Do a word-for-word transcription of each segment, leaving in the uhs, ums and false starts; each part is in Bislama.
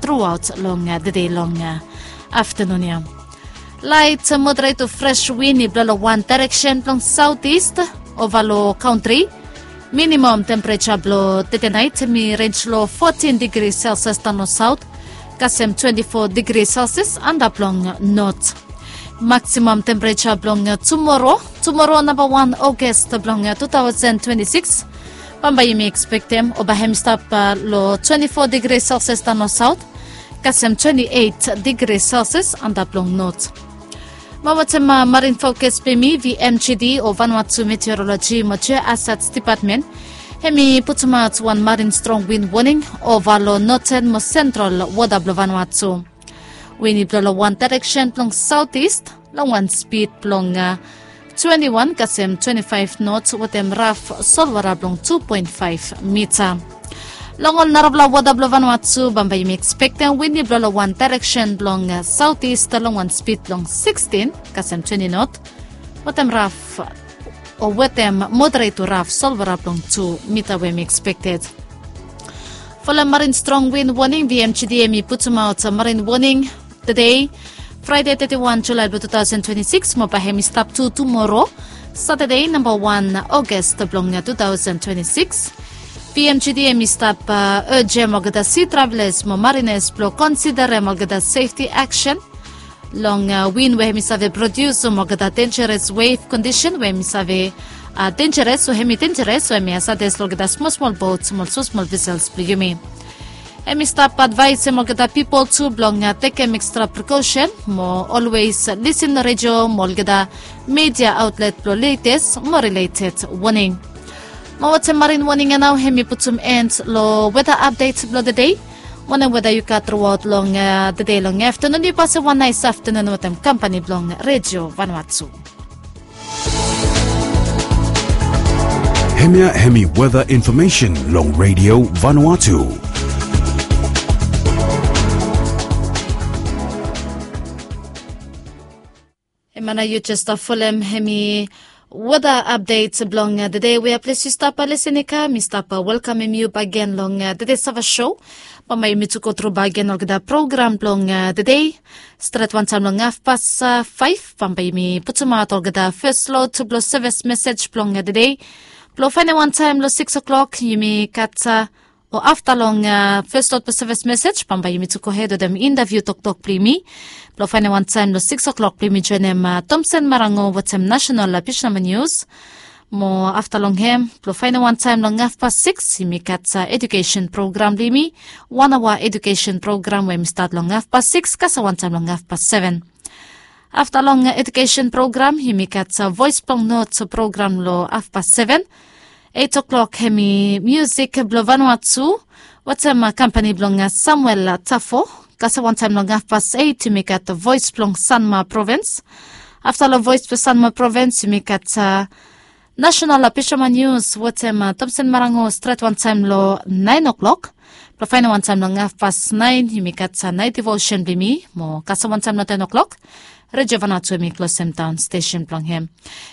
truaot long dede long aftanun ya. Lait moderet tu fres win i blo long wan daereksen blong saotis ova long kantri. Minimam tempereja blong tete nait mi renj long fotin digri selsias daon long saot, kasem twenti fo digri selsias antap long not. Maksimam tempereja blong tumoro, tumoro namba wan Ogos blong tu taosen twenti sikis, bambae yumi ekspektem o bae hem i stap long twenti fo digri selsias daon long saot, kasem twenti eit digri selsias antap long not. Mo wetem marin fokas blong yumi, vmgd o Vanuatu Meteoroloji mo Geohazards Dipatmen, hem i putumaot wan marin strong win woning ova long noten mo sentral wota blong Vanuatu. Win i blo long wan daereksen blong saotis long wan spid blong twenti wan kasem twenti faef not wetem raf solwara blong tu poen faef mita. Long ol narafala wota blong Vanuatu bambae yumi ekspektem win i blo long wan daereksen blong saotis long wan spid blong sikstin kasem twenti not wetem raf o wetem moderet tu raf solwara blong tu mita we hem i ekspekted. Folem marin strong win woning, vmgd hem i putumaot marin woning tede, Fraede teti wan Julae blong tu taosen twenti sikis mo bae hem i stap tu tumoro, Satade namba wan Ogos blong tu taosen twenti sikis. Vmgd hem i stap ejem olgeta si travelas mo marinas blong konsiderem olgeta sefti aksen long win we hem i save prodius, olgeta denjaras wef kondisen we hem i save denjaras o hem i denjaras o hem i hazades long olgeta smolsmol bot mo ol smolsmol vesels blong yumi. Hem i stap advaesem olgeta pipol tu blong tekem ekstra prekosen mo olwes lisin redio mo olgeta midia aotlet blong letes mo rileted woning. Mo wetem marin woning ya nao hem i putum en long weta apdet blong tede. Wanem weta yu gat truaot long tede long aftanun, yu pasem wan naes aftanun wetem kampani blong Redio Vanuatu. Hemia hemi weta infomesen long Redio Vanuatu. Hemia nao yu jes stap folem hemi weta apdet blong tede. Wea ples yu stap lisin i kam, mi stap welkamem yu bakegen long tede Sava Show. Bambae yumi tu go tru bakegen olgeta program blong tede. Stret wantaem long hafpas faef bambae yumi putumaot olgeta fes lot blong sevis mesej blong tede. Blong faenem wantaem long sikis oklok yumi gat o afta long fes lot blong sevis mesej bambae yumi tu gohed wetem intaviu toktok blong yumi. Blong faenem wantaem long sikis oklok blong yumi joenem Tomsen Marango wetem nasenal Pishnama Nius. Mo afta long hem blong faenem wantaem long hafpas sikis yumi gat edukesen program blong yumi, wan aoa edukesen program we yumi stat long hafpas sikis kasem wantaem long hafpas seven. Afta long edukesen program yumi gat voes blong not program long hafpas seven. Eit oklok hemi musik blong Vanuatu wetem kampani blong Samuel Tafo. Kasem wantaem long hafpas eit yumi gat voes blong Sanma provins. Afta long voes blong Sanma provins yumi gat nasenal Pishnama Nius wetem Tomsen Marango stret wantaem long naen oklok. Blong faenem wantaem long hafpas naen yumi gat naet devosen blong yumi mo kasem wantaem long ten oklok Redio Vanuatu hemi klosem daon stesen blong hem.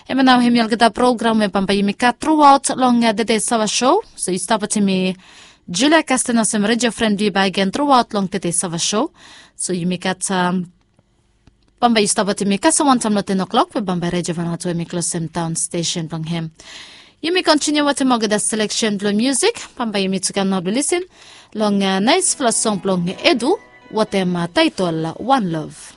Hemia nao hemi olgeta program we bambae yumi gat truaot long tede Sava Show. So yu stap wetem mi Julia Kasten olsem redio fren blong yu bakegen truaot long tede Sava Show. So yumi gat bambae yu stap wetem mi kasem wantaem long ten oklok we bambae Redio Vanuatu hemi klosem daon stesen blong hem. Yumi kontiniu wetem olgeta seleksen blong musik. Bambae yumi tu kam nao blong lisin long naesfala song blong Edu wetem taetol Wan Love.